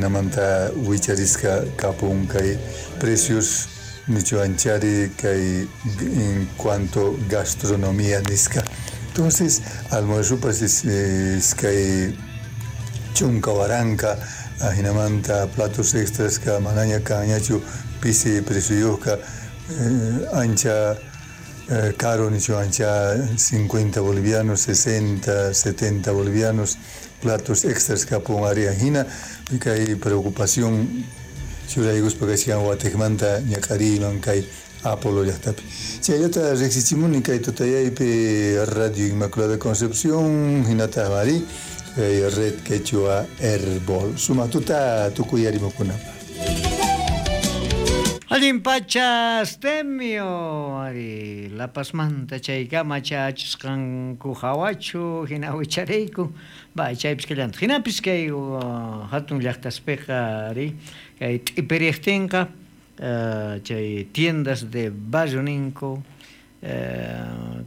Ajinamanta wicharisqa kapun kay precios nichuanchari kay en cuanto gastronomía nisqa. Entonces, almuerzopas iskay chunka waranka, ajinamanta platos extras ka manaña kanñachu pisi precioyuqqa, ancha caro nichuancha 50 bolivianos, 60, 70 bolivianos, platos extras kapun ari ajina, kay preocupación churaykuspa kachkan watejmanta ñak'ariyman kay Apolo llaqtapi. Chayllata riqsichimuni kay tutayaypi Radio Inmaculada Concepción, hinataq ari kay Red Quechua Herbol. Sumaq tuta tukuy arimukunapaq. Allin pacha Astemio, ari La Pazmanta chaykama chachisqanku hawachu hina wichariyku, va chaypis kallantaq. Hinapis kay hatun llaqtaspiqa ari kay t'ipiriqtinqa chay tiendas de barrio ninku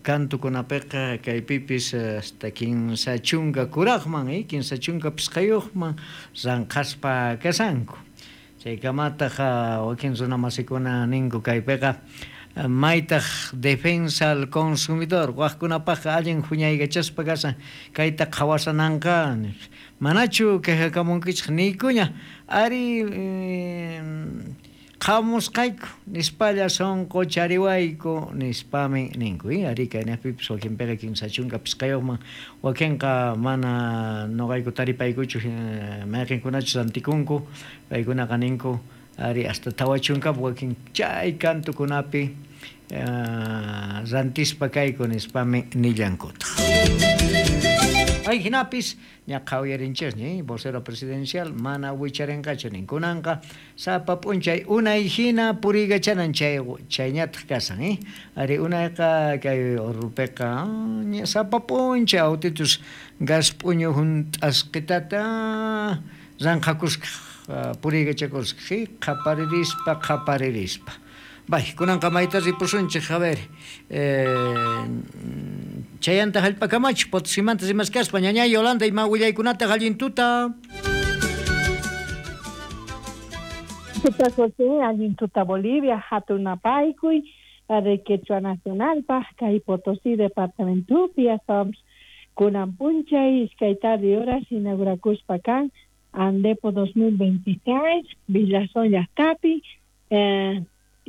kantukunapiqa kaypipis hasta 30 kuraqman, 30 pisqayuqman ranqaspa kashanku. Chaykamataq wakin runamasikuna ninku kaypiqa maytaq defensa al consumidor waqkunapaqqa allin huñaykachaspa kashan kayta qhawasananqa manachu quejakamunkichik niykuña ari qhamusqayku nispalla sunqu chariwayku nispami ninku ari kaynaqpipis wakinpiqa 30 pisqayuqman wakinqa mana nuqayku taripaykuchu mayqinkunachus rantikunku paykunaqa ninku ari hasta 40 wakin chay kantukunapi rantispa kayku nispami nillankutaq. Ay hinapis ña qhawayarinchikña vocero presidencial mana wicharinqachu ninkunanqa sapa p'unchay unay hina puriykachanan chay chayñataq kasan ari unayqa kay urrupiqa sapa p'unchay autitus gas p'uñu hunt'asqitata ranqhakusqa puriykachakusqa qhaparirispa qhaparirispa. Bay, kunanqa mayta ripusunchik, a ver, chayanta hallp'akamachu Potosimanta rimaskaspa ñañay Yolanda ima willaykunata allin tuta. Tuta José, allin tuta Bolivia, hatun napaykuy, de Quechua Nacionalpaj, kay Potosí departamentopi, astawanpis kunan p'unchay iskay tarde horas inaugurakuspa kan Andepo 2026, Villazón llaqtapi,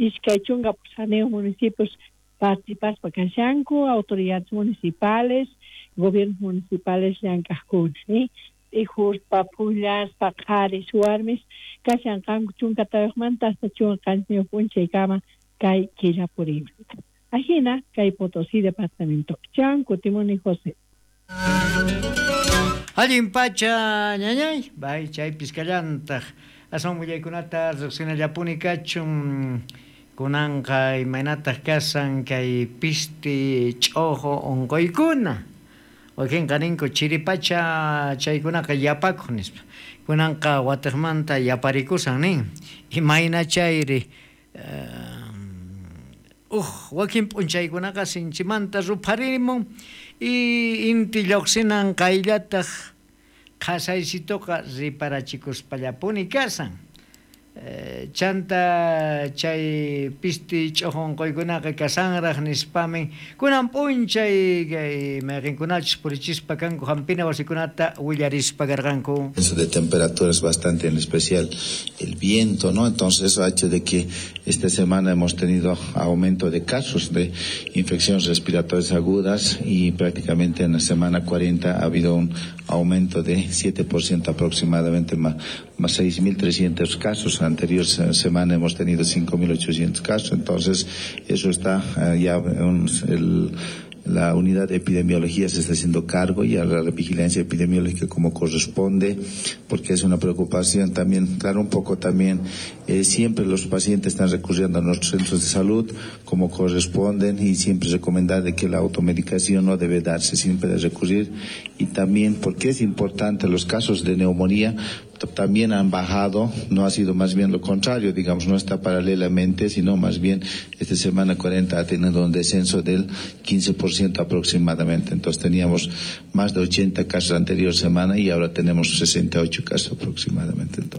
iskay chunka pusaniyuq municipios participaspa kashanku, autoridades municipales, gobiernos municipales llank'aqkuna, t'ijuspa, phullaspa, qharis, warmis kashanqanku chunka tawayuqmanta hasta chunka qanchisniyuq p'unchaykama kay killa purimanta. Ajina kay Potosí departamento. Chan kutimuni José. Allin pacha ñañay, bay chaypis kallantaq. Aswan willaykunata riqsinallapuni kachun kunanqa imaynataq kasan kay pisti ch'uqu unquykuna. Wakinqa ninku chiripacha chaykunaqa yapakuq nispa. Kunanqa watiqmanta yaparikusan nin. Imayna chayri wakin p'unchaykunaqa sinchimanta rupharimun y inti lluqsinan qayllataq qhasaysituqa riparachikuspallapuni kasan. Chanta chay pisti ch'uqu unquykunaqa kasanraq nispami kunan p'unchay kay mayqinkunachus purichispa kanku hampina wasikunata willarispa karqanku. Eso de temperaturas bastante, en especial el viento, ¿no? Entonces eso ha hecho de que esta semana hemos tenido aumento de casos de infecciones respiratorias agudas y prácticamente en la semana 40 ha habido un aumento de 7% aproximadamente, más 6.300 casos. La anterior semana hemos tenido 5.800 casos, entonces eso está ya la unidad de epidemiología se está haciendo cargo y a la vigilancia epidemiológica como corresponde, porque es una preocupación también, claro, un poco también, siempre los pacientes están recurriendo a nuestros centros de salud como corresponden y siempre recomendar de que la automedicación no debe darse, siempre de recurrir, y también porque es importante los casos de neumonía también han bajado, no ha sido más bien lo contrario, digamos, no está paralelamente, sino más bien esta semana 40 ha tenido un descenso del 15% aproximadamente. Entonces teníamos más de 80 casos la anterior semana y ahora tenemos 68 casos aproximadamente. Entonces.